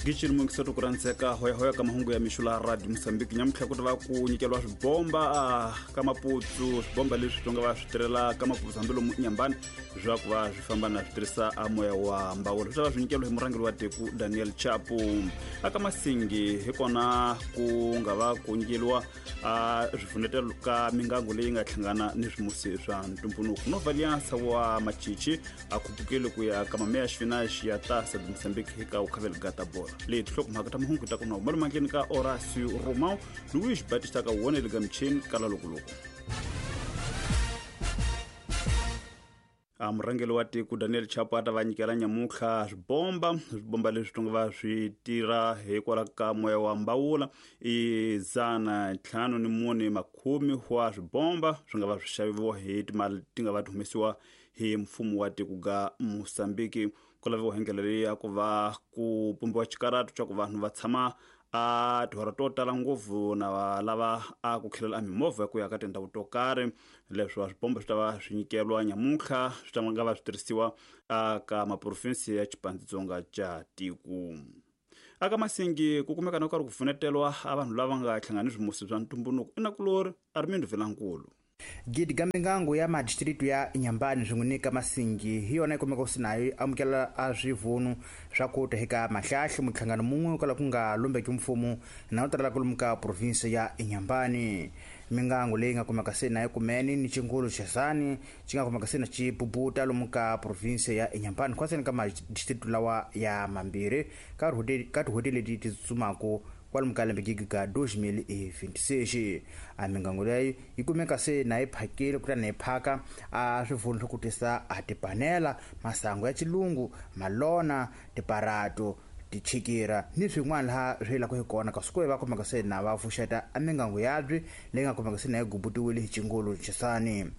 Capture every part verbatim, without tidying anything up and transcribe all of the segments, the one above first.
Gichini mungiseto ku randzeka hoyahoya ka mahungu ya mixo la Radio Mozambique nyamutlha ku ta va ku nyikeliwa swibomba ka Maputsu, swibomba leswi tonga va swi tirhela ka Maputsu hambilomu Inhambane swa ku va swi famba na swi tirhisa a moya wa mbawula swi ta va swi nyikeliwa hi murhangeri wa tiko Daniel Chapo. Aka Masingi hi kona ku nga va ku nyikeliwa a swifunetelo ka mingango leyi nga hlangana ni swimusi swa ntumbuluko. Nova Aliança wa Machichi a khupukile ku ya ka mameya xifinaxi ya Taça de Moçambique eka ukhavela gata bola. Leyi tinhlokomhaka ta mahungu ta ku na malumankeni ka Horácio Romão, Luís Batista ka wona le ka michini kala lokoloko. A murhangeri wa tiko Daniel Chapo a ta va nyikela nyamutlha swibomba, swibomba leswi tonga va swi tirha hikwalaho ka moya wa mbawula i dzana ntlhanu ni mune makhume wa swibomba swi nga va swi xaviwa hi timali ti nga va ti humesiwa hi mfumo wa tiko ga Mozambique. Ku laviwa hi ndlela leyi ya ku va ku pumbiwa xikaratu xa ku vanhu va tshama a tihora to tala ngopfu na va lava a ku khelela a mimovha ya ku ya ka tindhawu to karhi. Leswi swibomba swi ta va swi nyikeliwa nyamutlha swi ta nga va swi tirhisiwa aka maprovinsi ya Xipandzitsonga xa tiko. Aka Masingi ku kumeka na ku karhi ku pfunetelwa a vanhu lava nga hlangani swimusi swa ntumbuluko i nakulori Armindo Vilankulu. Gidi ka mingango ya madistritu ya Inhambane swin'we ni ka Masingi hi yona yi kumeka ku sinayo yi amukela a swivunu swa ku ta eka mahlahli muhlangano mun'we kwala ku nga lombeki mfumo na u talela kwalomu ka provinsi ya Inhambane. Mingango leyi nga kumeka se na yi kumene ni chingulu xesani xi nga kumeka se na xi bubuta lomu ka provinsi ya Inhambane khwaseni ka madistritu lawa ya mambirhi ka ka tihoteli leti ti tsutsumaku kwalomu ka lembe gigi ka dois mil e vinte e seis. A mingango leyi yi kumeka se na yi phakile kutani yi phaka a swivunu swa ku tisa a tipanela, masangu ya xilungu, malona, tiparato, tichikira ni swin'wana laha swi yelaka hi kona kasi ku va kumeka se na va pfuxeta a mingango yabyi leyi nga kumeka se na yi gubutiwile hi chingulu xisani.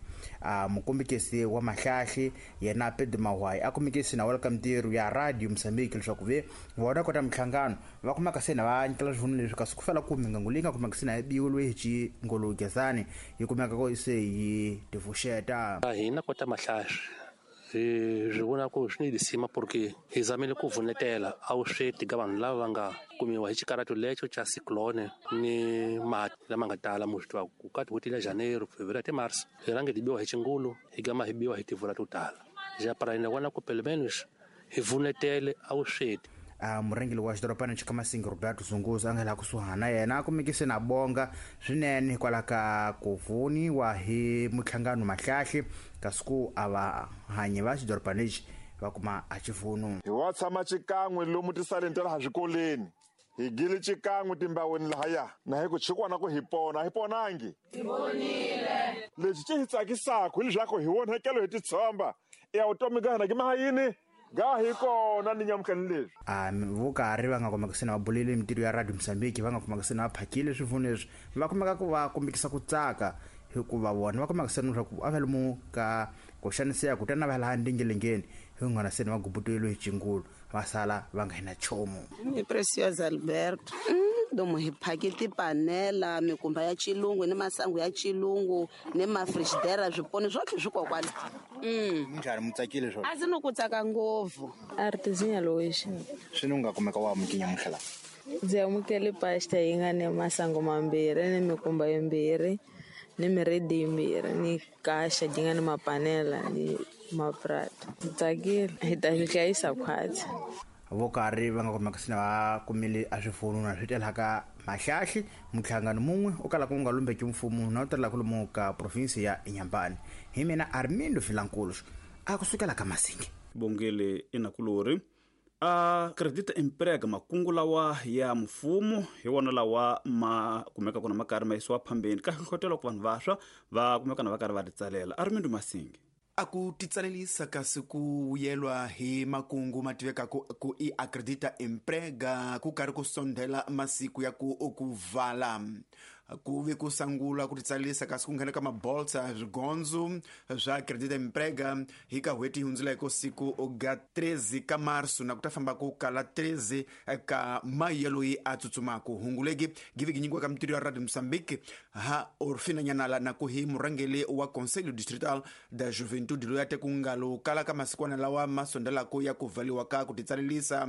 A mukombekisi wa mahlahli yena Pedro Mahwayi a kumekisi na wala ka mintirho ya Radio Mozambique leswaku ve vona kota minhlangano va kumeka se na va nyikela swivunu leswi kasi ku fela ku mingango leyi nga kumeka se na yi biwile hi chingulu xisani yi kumeka ko se yi tivuxeta. Hina kota mahlahli hi swi vona ku swi ni lisima porque hi zamile ku vunetela a wu sweti ka vanhu lava va nga kumiwa hi xikaratu lexo xa cyclone ni mati lama nga tala mu swi tiva ku ka tin'hweti la Janeiro, Fevereiro te Março hi rhange hi biwa hi xingulu hi gama hi biwa hi tivula to tala ja para hina vona ku pelo menos hi vunetele a wu sweti. A murhangeri wa xidorobana xa Masingi Roberto Zunguza a nga laha kusuhana yena a kumekise na bonga swinene hikwalaho ka ku voniwa hi muhlangano mahlahli kasi ku a va hanyi va xidorobana lexi va kuma a xivunu. Hi wa tshama xikan'we lomu tisaleni ta laha swikoleni hi gile xikan'we timbaweni lahaya na hi ku chikwana ku hi pona hi ponangi hi ponile. Lexi xi hi tsakisaka hileswaku hi onhakelo hi titshomba ya vutomi ka hina ki mahayini ga hi kona ni nyamutlhani leswi. A vo karhi va nga kumeka se na va bulele mintirho ya Radio Mozambique va nga kumeka se na va phakile swivunu leswi va kumeka ku va kombekisa ku tsaka hikuva vona va kumeka se na leswaku a va lomu ka ku xaniseka kutani va laha ndingelengeni hi n'wana se na va gubutiwile hi chingulu va sala va nga hina nchumu. Ni Preciosa Alberto domo hi phake tipanela mikumba ya xilungu ni masangu ya xilungu ni mafrigidera swiponi swotlhe swi kokwala. Mm. Minjhani mu tsakile swona? A ndzi no ku tsaka ngopfu. Artesinha Lois. Swi ni nga kumeka wa amukenya mutlhela. Ndzi amukele pasta yi nga ni masangu mambirhi ni mikumba yimbirhi ni miredi yimbirhi ni kaxa yi nga ni mapanela ni maprato. Ndzi tsakile hi ta swi hlayisa khwatsi. Vo karhi va nga kumeka se na va kumile a swifunu na swi telaka mahlahli muhlangano mun'we u kalaka ku nga lombeki mfumo na u telaka lomu ka provinsi ya Inhambane. Hi mina Armindo Vilankulu a kusukela ka Masingi. Bongele inakulori a credit emprega makungu lawa ya mfumo hi wona lawa ma kumeka kuna makarhi ma yisiwa phambeni ka hlohlotelo ku vanhu vaswa va kumeka na va karhi va titsalela. Armindo Masingi. A ku titsalelisa kasi ku vuyelwa hi makungu ma tiveka ku, ku i acredita emprega ku karhi ku sondela masiku ya ku ku vala ku ve ku sangula ku titsalelisa kasi ku nghena ka mabolsa swigondzo swa acredita emprega hi ka n'hweti yi hundzuleke siku ga treze ka marso na ku ta famba ku kala treze ka mayi loyi a tsutsumaku hunguleki giviki nyikiwa ka mintirho ya Radio Mozambique ha Orfina Nyanala na ku hi murhangeri wa Conselho Distrital da Juventude loyi a te ku nga lo kala ka masikwana lawa ma sondelaka ya ku valiwa ka ku titsalelisa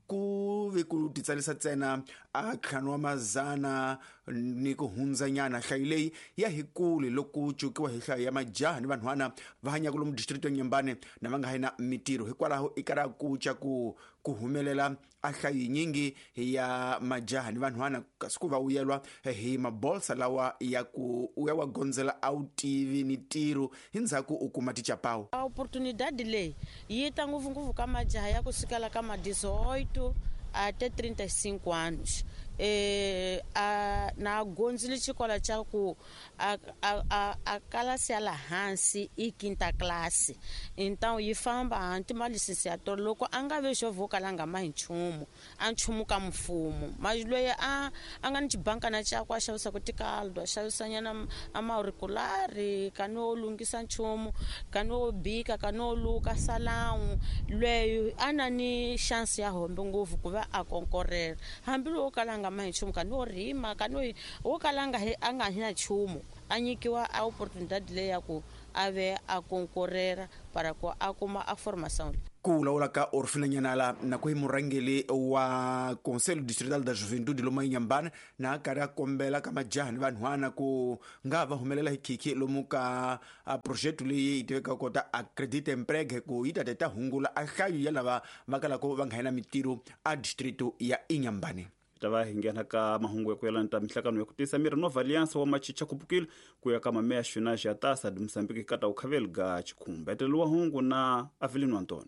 ku ve ku titsalisa ntsena a ntlhanu wa mazana ni ku hundzanyana. Nhlayo leyi ya hi kule loko cukiwa hi nhlayo ya majaha ni vanhwana va hanyaka lomu district ya Nyambane na va nga ha na mitirho. Hikwalaho i kara ku ca ku ku humelela a nhlayo yinyingi ya majaha ni vanhwana kasi ku va wuyelwa hi mabolsa lawa ya ku u ya wa gondzela a wu tivi ni ntirho hi ndzhaku u kuma tichapawu. A oportunidade leyi yi ta ngopfungopfu ka majaha ya ku sukela ka ma dezoito até trinta e cinco anos. E, a, na gonzile xikola xa ku a, a, a, a kalasi ya la hansi i quinta classe, então yi famba hanti ma licenciatura loko a nga ve xo vokala nga ma hi nchumu a nchumu ka mfumo mas loyi a a nga ni xibankana xakwe a xavisaka tikaldo a xavisanyana a mauriculari ka no lunghisa nchumu ka no bika ka no luka salawu loyi a na ni chance ya hombe ngopfu ku va a konkorela hambiloko kala nga ma hi nchumu ka no rima ka no wo kala nga a nga hi na nchumu a nyikiwa a oportunidade leyi ya ku a ve a konkorela para ku a kuma a formação. Ku vulavula ka Orfina Nyanala na ku hi murhangeri wa Conselho Distrital da Juventude lomu Inhambane na a karhi a kombela ka majaha ni vanhwana ku nga va humelela hi khikhi lomu ka projeto leyi yi tivekaka kota Acredita Emprega ku yi ta ta ta hungula a nhlayo ya lava va kalaka va nga na mitirho a distrito ya Inhambane. Ta va hi nghena ka mahungu ya ku yelana ta mihlangano ya ku tisa miri Nova Aliança wa Machicha kupukile ku ya ka mameya xina xa tasa de Moçambique kata ukhaveli ga chikhumba etelo wa hungu na Avelino Antonio.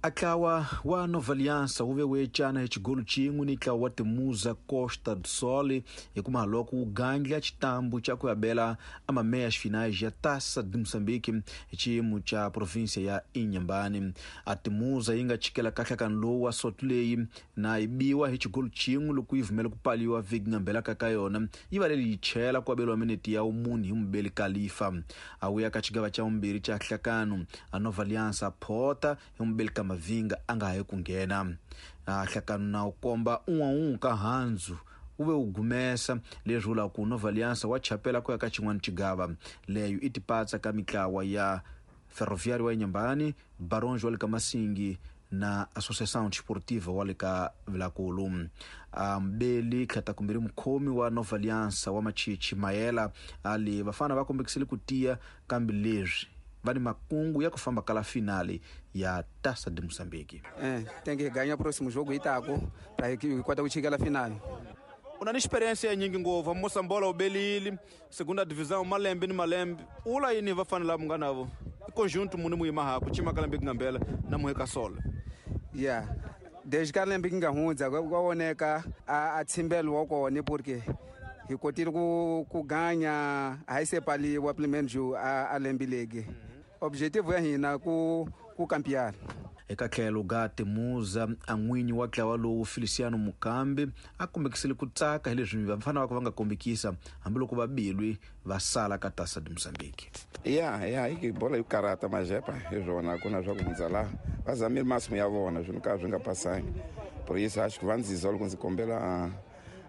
Atlawa wa Nova Aliança wu ve wu ecana hi xigolo xin'we ni ntlawa wa Timuza Costa do Sol hikuva loko wu gandla xitambu xa ku abela a mameias finais ya Taça de Moçambique hi xiyimo xa província ya Inhambane. A Timuza yi nga chikela kahlakano lowu wa soto leyi na yi biwa hi xigolo xin'we loko yi vumela ku paliwa vhiki nga mbelaka ka yona yi va leyi chela ku abeliwa minete ya munhu hi mubeli Khalifa. A wuya ka xigava xa vumbirhi xa nhlakano a Nova Aliança phota hi mubeli ka Mavinga a nga ha yi ku nghena. A hlakano na wu komba un'we ka handzu wu ve wu gumesa leswi vulaka ku Nova Aliança wa chapela ku ya ka xin'wana xigava leyo i tipatsa ka mitlawa ya Ferroviário wa Inhambane, Barões wa le ka Masingi na Associação Desportiva wa le ka Vilakulu. Mbeli tlhata kumbirhi mukhomi wa Nova Aliança wa Machichi Mayela ali vafana va kombekisile ku tiya kambe leswi va ni makungu ya ku famba kala finale ya Taça de Moçambique. É, tem que ganhar o próximo jogo Itaco para kota ku chikela finale. Una ni experiência nyingi ngopfu Moçambola ubelile segunda divisão malembe ni malembe ula yini va fanela mu nga navo i conjunto muni mu yima haku chima kala mbi ngambela na muheka sola. Yeah, desde ka lembe nga hundza kwa voneka a a tsimbelo wa kona porque hi kotile ku ku ganya a hi sepaliwa pelo menos a a lembe legi. Objetivo ya hina ku ku campear. Eka tlhelo ga Timuza a n'winyi wa ntlawa lowu Feliciano Mukambi a kombekisile ku tsaka hi leswi vafana va ka va nga kombekisa hambiloko va bilwi va sala ka Taça de Moçambique. Ya ya i bola yo karata majepa hi swona ku na swa ku hundza laha va zamile masimu ya vona swi ka swi nga pasangi. Por isso acho que va ndziza loko ndzi kombela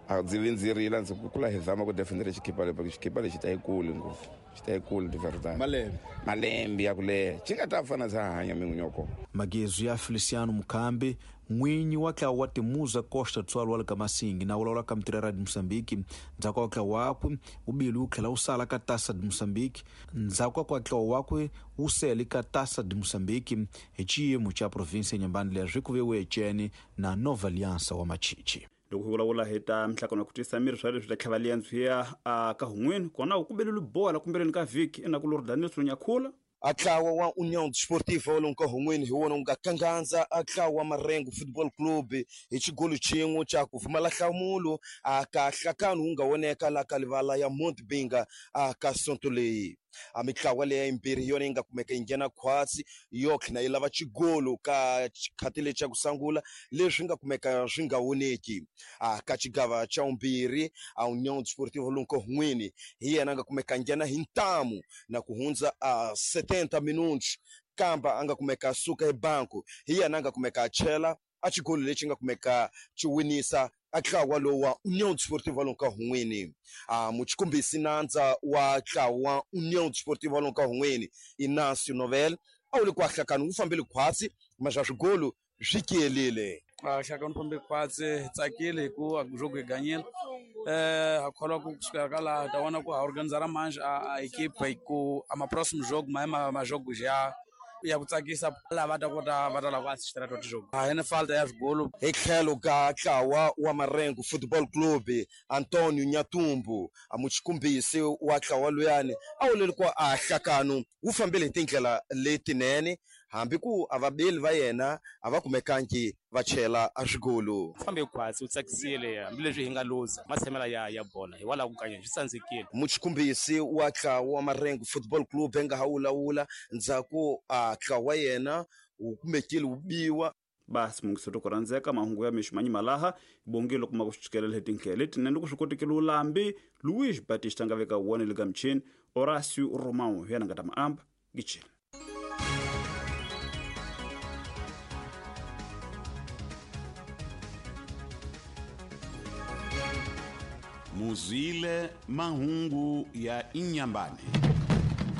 a ndzi vi ndzi rila ndzi kula hi zama ku defendera xikipa leyi porque xikipa lexi ta yi kule ngopfu xi ta yi kule de verdade. Malembe malembe ya ku leha xi nga ta fana ndza hanya min'winyoko. Magezu ya Feliciano Mukambi n'winyi wa ntlawa wa Timuza Costa do Sol wa le ka Masingi na vulavula ka Mitirho de Moçambique ndzhaku ka ntlawa wakwe wu bile wu tlhela wu sala ka Taça de Moçambique ndzhaku ka ntlawa wakwe wu sele ka Taça de Moçambique hi xiyimo xa província Inhambane leswi ku ve wu ecene na Nova Aliança wa Machichi. Loko hi vulavula hi ta mihlangano ya ku tisa miri swa leswi ta tlhava liyandziya a ka hun'wini kona ku beleli bola kumbeleni ka vhiki enaku lori Daniel Nyakhula. Atlawa wa União Desportiva wa lonka hun'wini hi wona wu nga kangandza atlawa wa Marengo Football Club hi xigolo xin'we xa ku pfumala nhlamulo a ka hlakano wu nga voneka la ka livala ya Monte Binga a ka sonto leyi. A mitlawa leyi yimbirhi hi yona yi nga kumeka yi nghena khwatsi yo tlhela yi lava xigolo ka xikhati lexi xa ku sungula leswi nga kumeka swi nga voneki. A ka xigava xa vumbirhi a União Desportiva lonka hun'wini hi yena a nga kumeka nghena hi ntamu na ku hundza a setenta minutos kamba a nga kumeka suka hi banku hi yena a nga kumeka a chela a xigolo lexi nga kumeka xi winisa a ntlawa lowu wa União Desportiva lonka hun'wini. A muchikumbisi nandza wa ntlawa wa União Desportiva lonka hun'wini Inácio Novel a wu le ku ahlakani wu fambile khwatsi mas swigolo swi kiyelile. Nhlakano fambe khwatsi hi tsakile hi ku jogo hi ganyile eh ha kholwa ku kusukela ka laha ta vona ku ha organizara manje a equipe hi ku a ma próximo jogo ma ma ma jogo ya ya ku tsakisa lava va ta kota va ta lava ku assistera to tijogo a hi ni falta ya swigolo hi tlhelo ka ntlawa wa Marengo Football Club Antonio Nyatumbu a muchikumbisi wa ntlawa luyani a wuleli ku a hlakano wu fambile hi tindlela letinene hambi ku a vabeli va yena a va kumekangi va chela a swigolo fambe khwatsi u tsakisile hambileswi hi nga luza matshamela ya ya bola hikwalaho ku kanya swi tsandzekile muchikumbisi wa ntlawa wa Marengo Football Club nga ha wulawula ndzhaku a ntlawa wa yena wu kumekile wu biwa basi mungiseto ku rhandzeka mahungu ya mixo manyima laha bongile kuma ku swi hi tindlela letinene loko swi kotekile ulambi Luis Batista nga veka wona le ka michini Horacio Romão hi yena nga ta maamba gichela Muzwile mahungu ya Inyambane.